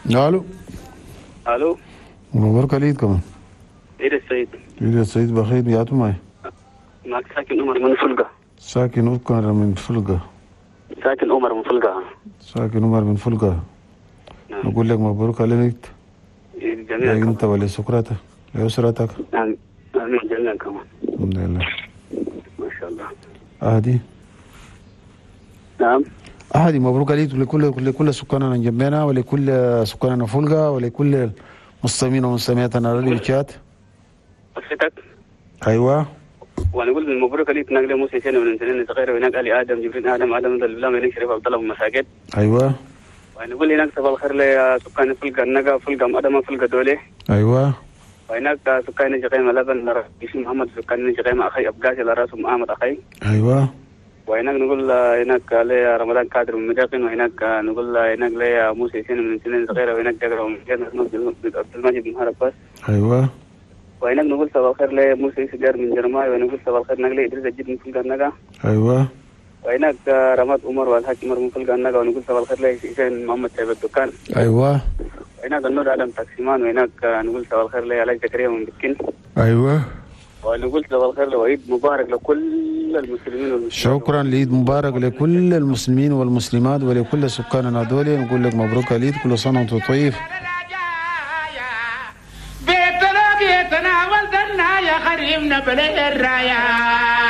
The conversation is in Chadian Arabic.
الو. الو. مبروك عليك كمان. عيد السعيد. عيد السعيد بخير يا معي. معك ساكن عمر من فلقة. ساكن عمر من فلقة. ساكن عمر من فلقة. ساكن عمر من فلقة. نعم. نقول لك مبروك عليك جميعا انت كمان. ولسكرتك لأسرتك. نعم آمين جميعا كمان. الحمد لله. ما شاء الله. أهدي. نعم. أهدي مبروك عليك لكل سكاننا جنبنا ولكل سكاننا فلقة ولكل المستمعين ومستمعاتنا راديو تشات. أسرتك. أيوة. ونقول مبروك عليك نقل موسى سنة من سنين صغيرة وهناك علي آدم جبرين آدم آدم ذا هناك شريف عبد الله بن مساجد. أيوة. ونقول هناك صباح الخير لسكان فلقة النقا فلقة مدمة فلقة دولة. أيوة. وهناك سكان جغيمة لبن لرئيس محمد سكان جغيمة أخي أبقاسي لرأسهم أحمد أخي. أيوة. وهناك نقول هناك لي رمضان كادر من مداقن. وهناك نقول هناك لي موسى سنة من سنين صغيرة. وهناك جغرة من عبد المجيد بن هرب. أيوة. وهناك نقول صباح الخير لموسى سجار من جرماي. ونقول صباح الخير نقل إدريس الجد من فلقة النقا. أيوة. وهناك رماد عمر والحاج عمر من فلقة النقا. ونقول صباح الخير لحسين محمد سيف الدكان. أيوة. وهناك النور آدم تاكسيمان. وهناك نقول صباح الخير لعلاج زكريا من بكين. أيوة. ونقول صباح الخير لوعيد مبارك لكل المسلمين والمسلمات. شكرا لعيد مبارك لكل المسلمين والمسلمات ولكل سكان دولي. نقول لك مبروك العيد، كل سنة وانتم طيب. بيتنا بيتنا ولدنا يا خريمنا بلا الراية.